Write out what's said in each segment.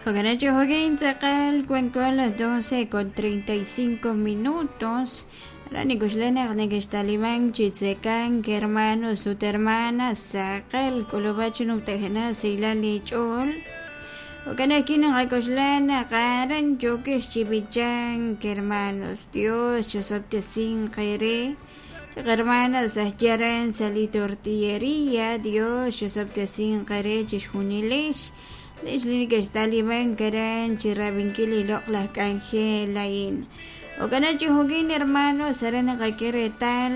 Jo'kan chi tz'aqal wanko a las 12:35 minutos. Aran nikuxlan naq nekextalimank chi tzekank hermanos ut hermanas tz'aqal k'ulub'aj chi numtajenaq xsahilal li ch'ool. Jo'kan ajwi' naqak'oxla naq aran yookex chi b'ichank hermanos. Dios chosob'tesinq eere. Li hermanas aj aran sa' li tortilleria. Dios chosob'tesinq eere chixjunilex. Lix li nekextalimank aran chi rab'inkil li loq'laj k'anjel a'in. Jo'kan chi jo'kin hermanos aran naqak'e reetal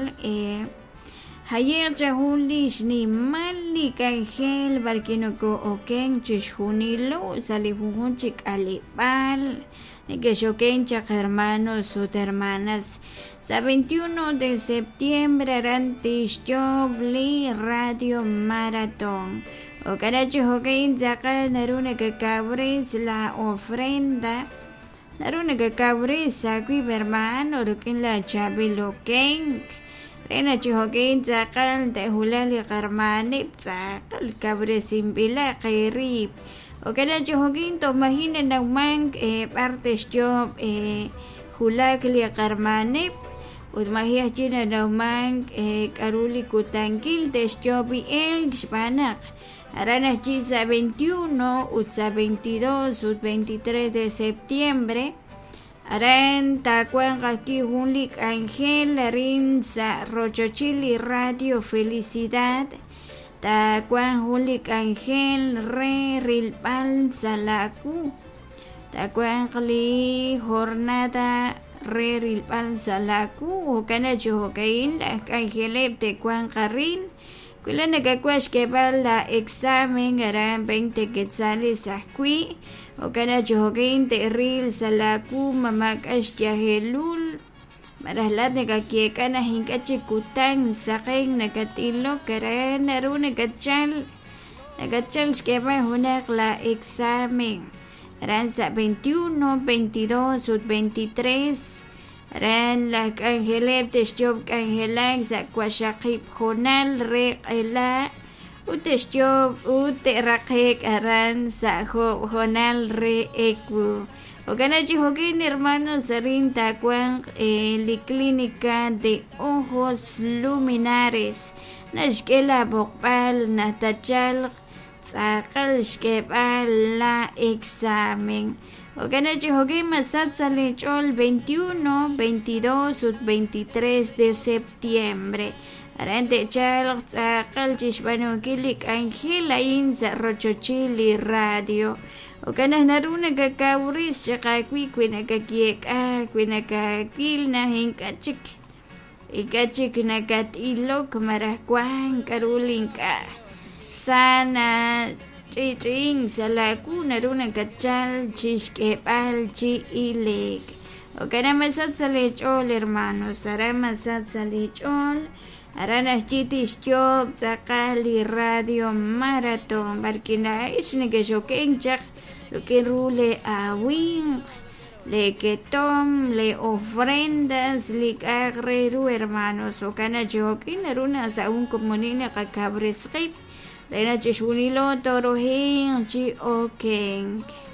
haye'q cha jun li xnimal li k'anjel b'arwi' noko'oken chixjunilo sa' li junjunq chi k'aleb'aal nekex'oken chaq hermanos ut hermanas. Sa' 21 de septiembre aran tixyoob' li Radio Maratón. Jo'kan chi jo'kin tz'aqal naru nakakawres la ofrenda, naru nakakawres aawib' hermano rik'in la chaab'il okenk re naq chi jo'kin tz'aqal te'wulaq li qarmanib' tz'aqal kawresinb'ilaq eerib'. Jo'kan chi jo'kin toj maji' nanawmank b'ar te'xyoob' wulak li qarmanib' ut maji' ajwi' nanawmank k'a'ru li kutankil te'xyoob' elk xb'aan naq aran ajwi' sa' 21 ut sa' 22 ut 23 de septiembre aran taawanq ajwi' jun li k'anjel arin sa' rochochil li Radio Felicidad taawanq jun li k'anjel re rilb'al sa' laawu taawanq li jornada re rilb'al sa' laawu jo'kan chi jo'ka'in laj k'anjeleb' te'wanq arin wi la nakawaj xk'eeb'al la examen aran 20 quetzales ajwi' jo'kan chi jo'kin te'ril sa' laawu ma maak'a' xyajelul malaj laat nakayeek'a naq ink'a' chik kutan saqen nakat'ilok aran naru nakatchal xk'eeb'al junaq la examen aran sa' 21, 22 ut 23 aran laj k'anjeleb' te'xyoob' k'anjelak sa' waqxaqib' hoonal re q'ela ut te'xyoob' ut te'raqe'k aran sa' jo'oob' hoonal re ewu. Jo'kan chi jo'kin hermanos arin taawanq li Clínica de Ojos Luminares naxk'e la b'oqb'al naq tachalq tz'aqal xk'eeb'al la examen. Jo'kan chi jo'kin masach sa' li ch'ool 21, 22 ut 23 de septiembre. Aran te'chalq tz'aqal chixb'aanunkil li k'anjel a'in sa' rochochil li radio. Jo'kan naq naru nakakawres chaq aawib' wi nakayeek'a wi nakawil naq ink'a' chik nakat'ilok malaj wank k'a'ru li ink'a' sa nach'i'ch'i'ink sa' laawu naru nakatchal chixk'eeb'al chi ileek. Jo'kan naq masach sa' li ch'ool hermanos, aran masach sa' li ch'ool aran ajwi' tixyoob' tz'aqal li Radio Maratón b'arwi' laa'ex nekex'oken chaq rik'in ru li aawinq, li ketom, li ofrendas, li k'a'aq re ru hermanos. Jo'kan naq chi jo'kin naru naq sa' jun komonil naqakawres qib' re naq chixjunilo toorohinq chi okenk.